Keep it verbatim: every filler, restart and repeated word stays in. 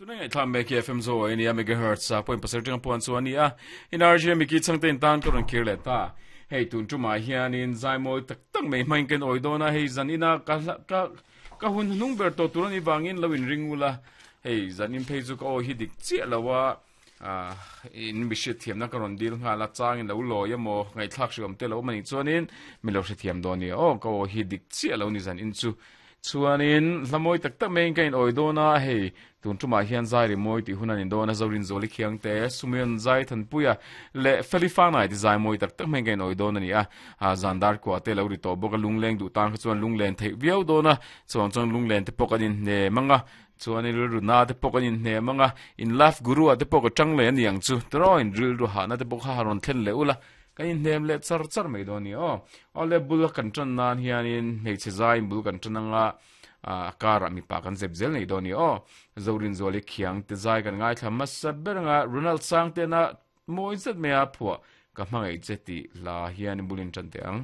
Tuna ngai thlam me ki F M zo ai nia megahertz a point pasarih tanga puan chu ani a in R G mi ki changte in tan ka rawn kir leh ta. Hei tun tumah hianin zaimawi tak tak mai hmangin kan awi dawn a, hei zan ina ka ka ka hun hnung ber tawh tur ani vangin lo in ring ula. Hei zan in phei chu ka awi hi dik chiah lo a, in mi hriatthiamna ka rawn dil nghal a, changin lo lawi emaw ngaihthlak hri awm te lo awm anih chuanin mi lo hrethiam dawn nia aw. Ka awi hi dik chiah lo ni zan in chu. Chuanin hla mawi tak tak maiin ka in awi dawn a, hei tun tumah hian zai ri mawi tih hun an in dawn a, Zorin Zawli Khiang te, Sumion Zai Thanpuia leh Feli Fanai te zai mawi tak tak maiin ka in awi dawn a ni a. Zan dar kua te lo ri tawh bawk a, lunglen duh tan kha chuan lunglen theih viau dawn a, chuang chuan lunglen te pawh kan in hnem ang a, chuan in rilru na te pawh kan in hnem ang a, in life guru ah te pawh ka tang leh a ni ang chu tiraw in rilru hahna te pawh kha rawn thlen leh ula, kan in hnem leh char char mai dawn a ni aw. Awle bul kan tan nan hianin hmeichhe zai in bul kan tan anga, a karah mipa kan zep zel nei dawn a ni aw. Zorin Zuali Khiang te zai kan ngaithla hmasa ber anga, Ronald Sangtena mawi zet mai a phuah Ka Hmangaih Che tih hla hian in bul in tan teh ang.